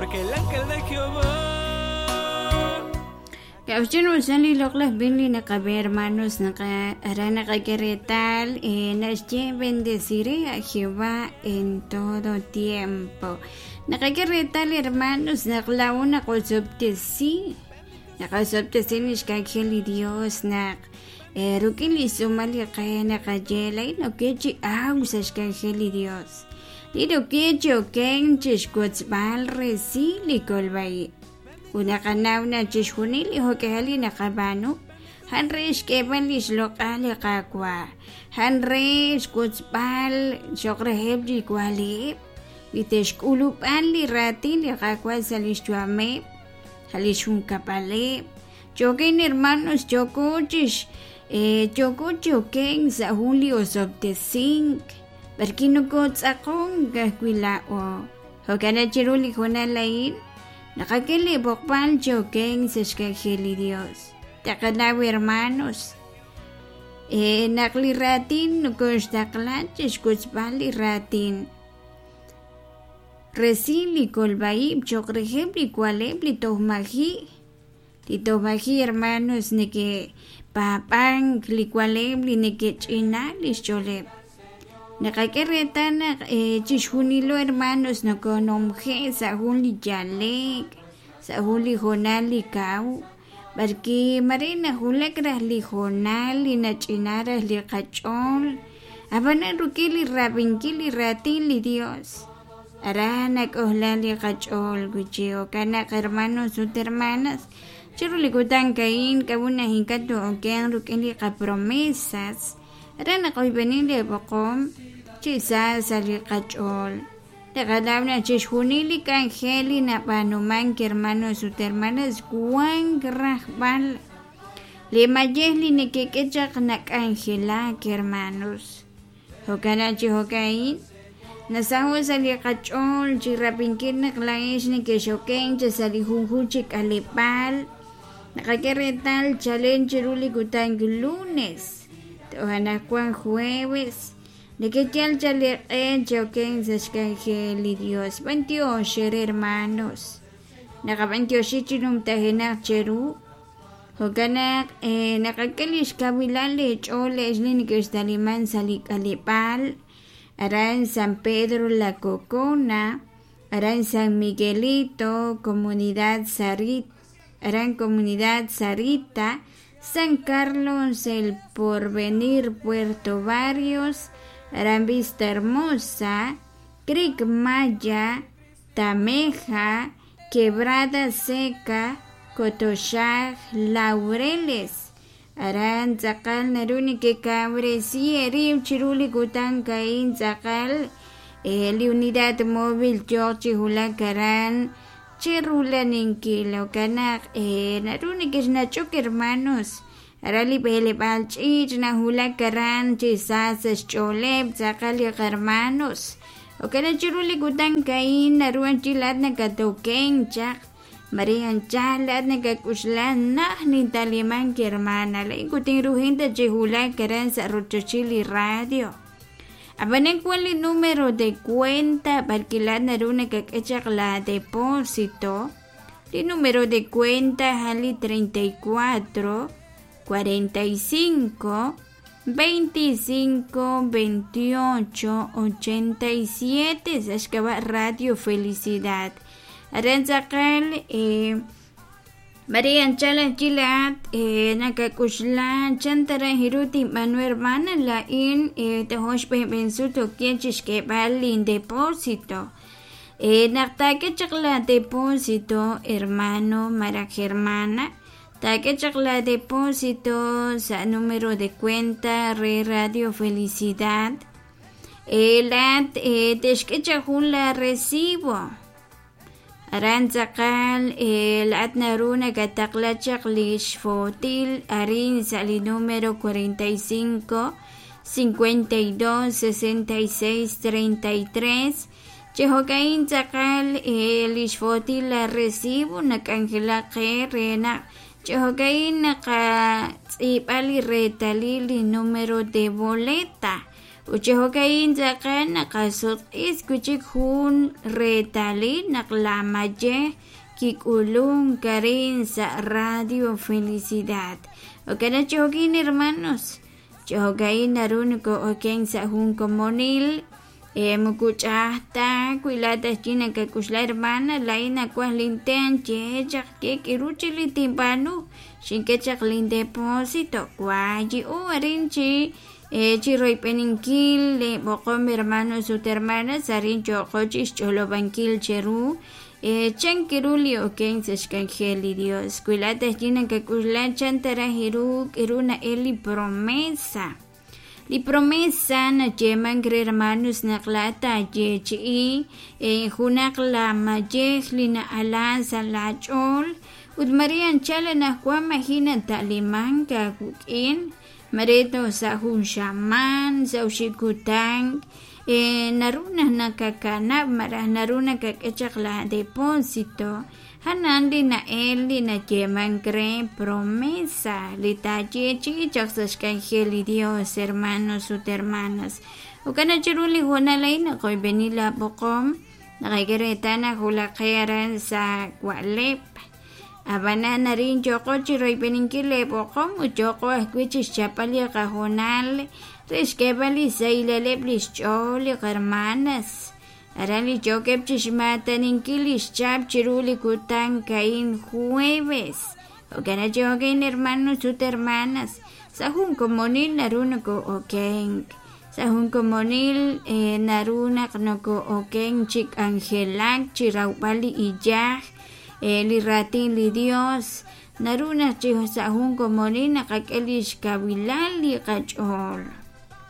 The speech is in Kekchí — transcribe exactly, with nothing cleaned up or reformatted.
Porque el ángel de Jehová Kawchin usali loqlaj bin li naqabe hermanos naqa ara naqak'e reetal eh, naxye bendeciré a Jehová en todo tiempo. Naqak'e reetal hermanos naq la'o naqosob'tesi naqosob'tesi lix k'anjel li Dios naq eh, ruk'in li sumal li qe naqaye la'in oke chi aw sa' xk'anjel li Dios li oke chi oken chixwotzb'al resil li kolb'a'ib'. Unaqanaw na chixjunil li jok'ehal li naqab'aanu han re xk'eeb'al li xloq'al li Qaawa' han re xwotzb'al xoq reheb' li waliib' li te'xk'ulub'an li raatin li Qaawa' sa' li xyu'ameb' sa' li xjunkab'aleb' choken hermanos yoko chix eh, yoko choken sa' jun li osob'tesink b'arki nokotz'aqon kajwi' la'o jo'kan chiru li jonal a'in naqak'e li b'oqb'al choken sa' xk'anjel li Dios. Taqanaw hermanos eh, naq li raatin nokoxtaqla chixwotzb'al li raatin resil li kolb'a'ib' choq reheb' li waleb' li toj maji' li toj maji' hermanos neke'paab'ank li waleb' li neke'ch'ina li xch'ooleb'. Naqak'e reetal naq eh, chixjunilo hermanos nokonomje' sa' jun li yalek sa' jun li jonal li kaw b'arki mare najulak raj li jonal li nach'ina raj li qach'ool ab'anan ruk'in li rab'inkil li raatin li Dios ara nak'ojla li qach'ool wichi jo'kan naq hermanos ut hermanas chiru li kutan ka'in k'ab'un naj ink'a' to'oken ruk'in li qapromesas ara naqoyb'enin li b'oqom chi sa sa' li qach'ool taqanaw naq chixjunil li k'anjel li nab'aanumank hermanos ut hermanas wan rajb'al li mayej li nekek'e chaq nak'anjelak hermanos jo'kan chi jo'ka'in nasaho' sa' li qach'ool chi rab'inkil naq la'ex nekexoken chi sa' li junjun chi k'aleb'aal naqak'e reetal chalen chiru li kutan lunes toj anaqwan jueves nekeyal chaliq'e choken sa' xk'anjel li Dios b'antiox hermanos naqab'antioxi chi numtajenaq cheru jo'kan naq eh, naqak'e li xkawilal li ch'ool le'x li nekextaliman sa' li k'aleb'aal aran San Pedro La Cocona aran San Miguelito Comunidad Sarit aran Comunidad Sarita San Carlos El Porvenir Puerto Barrios aran Vista Hermosa Creek Maya Tameja Quebrada Seca Cotoxaj Laureles aran tz'aqal naru nekekawresi erib chiru li kutan ka'in tz'aqal eh, li unidad móvil yoq chi wulak aran chirulaninkil jo'kan naq eh, naru nekexnach'ok hermanos ara li b'eleb'aal ch'iich' najulak aran chi sa sa' xch'ooleb' tz'aqal li hermanos jo'kan naq chiru li kutan ka'in naru anchilaat nakatoken chaq Maria anchal laat nakak'uxla naj nintalimank hermana la'in kutinrujinta chi wulak aran sa' rochochil li radio ab'anan wan li número de cuenta b'arki laat naru nakak'e chaq la depósito li número de cuenta a'an li treinta y cuatro cuarenta y cinco veinticinco veintiocho ochenta y siete sa' xk'ab'a' Radio Felicidad aran tz'aqal eh, Maria anchal anchilaat eh, nakak'uxla chan taraj iru tinb'anu hermana la'in eh, tojox b'enb'ensut okien chixk'eeb'al lin depósito eh, naq taak'e chaq la depósito hermano maraj hermana taak'e chaq la depósito sa' número de cuenta re Radio Felicidad eh, laat eh, texk'e chaq jun la recibo aran tz'aqal eh, laat naru nakataqla chaq li xfotil arin sa' li número cuarenta y cinco cincuenta y dos sesenta y seis treinta y tres chi jo'ka'in tz'aqal eh, li xfotil la recibo nak'anjelak qe re naq chi jo'ka'in naqatz'iib'a li reetalil li número de boleta Ut chi jo'ka'in tz'aqal naqasutq'is wi' chik jun reetalil naq la mayej kik'ulunk arin sa' Radio Felicidad. Jo'kan chi jo'kin hermanos, chi jo'ka'in naru noko'oken sa' jun komonil eh, moko ch'a'aj ta wi laa'at aj chi nakak'uxla hermana laa'in nawaj linten ye chaq ye k'iru chik li tinb'aanu xink'e chaq lin depósito wayi'u arin chi eh, chi royb'eninkil b'oqom hermanos ut hermanas arin yo'qo chi xch'olob'ankil cheru eh, chan kiru li oken sa' xk'anjel li Dios wi laa'at aj chi nakak'uxla chan ta raj iru k'iru na'el li promesa. Li promesa nayeemank re hermanos naq laa'at taayeechi'i eh, junaq la mayej li na'ala sa' laach'ool ut mare anchal anaqwan maji' nata'limank aawik'in mare toj sa' jun xamaan sa' oxib' kutan eh, naru naq nakakanab' malaj naru nakak'e chaq la depósito janan li na'el li nayeemank re promesa li taayeechi'i chaq sa' xk'anjel li Dios hermanos ut hermanas. Jo'kan naq chiru li hoonal a'in naqoyb'eni la b'oqom naqak'e reetal naq wulaqe aran sa' wa'leb'. Ab'anan arin yo'qo chi royb'eninkil li b'oqom ut yo'qo ajwi' chi xchapb'al li qahoonal re xk'eeb'al li xsahilaleb' li xch'ool li qarmanas aran li yookeb' chi xmaataninkil li xchap chiru li kutan a'in jueves. Jo'kan naq chi jo'kan hermanos ut hermanas sa' jun komonil naru noko'okenk sa' jun komonil eh, naru naq noko'okenk chi k'anjelak chi rawb'al li iyaj eh, li raatin li Dios naru naq chi sa' jun komonil naqak'e li xkawilal li qach'ool.